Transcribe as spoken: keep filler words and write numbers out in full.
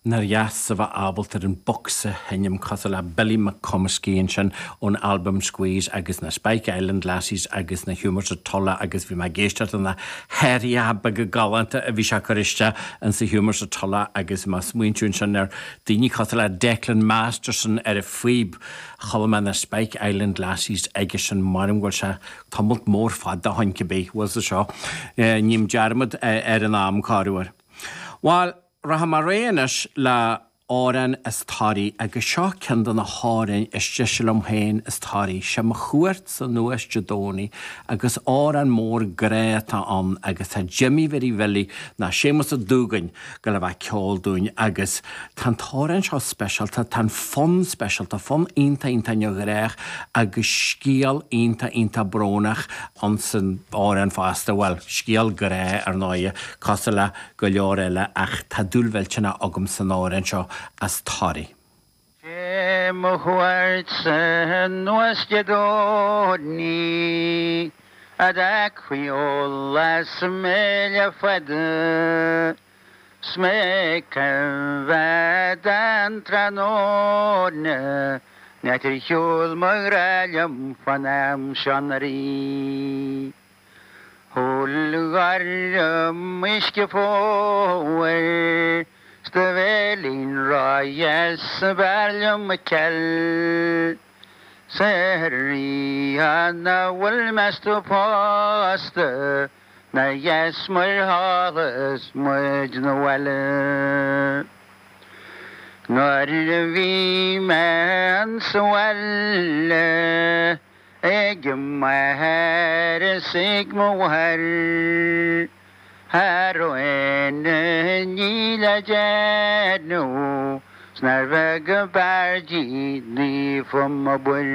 Nár dheas a bheith ábalta ar an box a sheinm cosúil le Billy McComiskey ansin ón albam Squeeze agus na Spike Island Lassies agus na Humours of Tulla agus bhí mé ag éisteacht na hairiacha beaga galánta a bhí sé ag cur isteach in sa Humours of Tulla agus mé ag smaointiú ansin ar daoine cosúil le Declan Masterson ar a phíb chuala mé na Spike Island Lassies aige sin mar go bhfuil sé tamall mór fada ó shin cibé bhfuil sa seo ním dearmad ar an am corruair. Well, rachaidh mé ar aghaidh anois le amhrán as Toraigh agus seo ceann de na hamhráin is deise liom féin as Toraigh sé mo chuairt anuas Dé Domhnaigh agus amhrán mór grá atá ann agus tá Jimmy Mhary Bhilly ná Séamus Ó Dúgáin go le bheith ceol dúinn agus tá an t-amhrán seo speisialta tá an fonn speisialta fonn iontach iontach neamhghnách agus scéal iontach iontach brónach ann san amhrán fosta well scéal grá ar ndóigh cosúil le go leor eile ach tá dúil mhillteanach agam san amhrán seo as Toraigh. Sé mo chuairt anuas Dé Domhnaigh a d'fheicfí eolas méle fada 'S mé coimhead an tráthnóna net ar shiúl mo ghrá liom fan am seo na rí. Shul ghairm uisce fómhair 's do bhéilín ráidheas b'fhearr liom mo cheil. Sa rí an na bhfuil meas tú pósta na dheas mar thálas muid na bhile. Nuair a bhí mé sa bhaile ag m'athair is ag mo mháthair. Cha raibh aon ní le déanamh 's nár bheag ab fhearr di naofa mo bhuir.